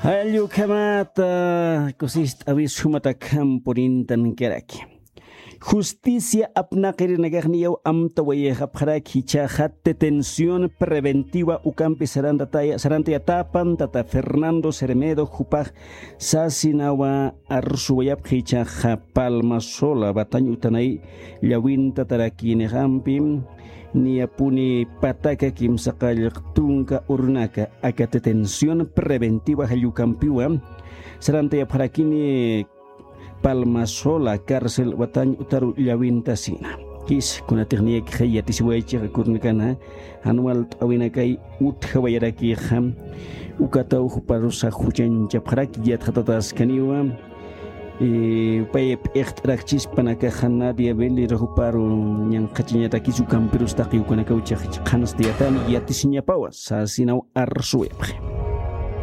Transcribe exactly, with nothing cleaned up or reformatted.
Jallukhamata kusist'awis jumatakhampurintan karaki. Justicia apnaqirinakaxniyaw amtawayixapxaraki jichhaxa detención preventiva ukampi sarantayatapan tata Fernando Cermedo jupax sasinawa arsuwayapxi jichhaxa Palma Sola Batañ utanay llawintatarakinixampi niyapuni pataka kimsaqallq tunka urunaka aka detención preventiva jallukampiwa sarantayapxarakini Palma Sola cárcel Batañ utaru llawintasina. Jis kunatix niyakixay yatisiwaychixa kurnakana jan walt'awinakay utjawayarakixa ukataw juparusa juchañchapxaraki yatxatataskaniwa. Pay p'iqt'arakchispanakaxa Nadia Velero juparu ñanqhachañatakis ukampirus taqi ukanakaw chixich qhanstayatani yatisiñapawa sasinaw arsuwayapxi.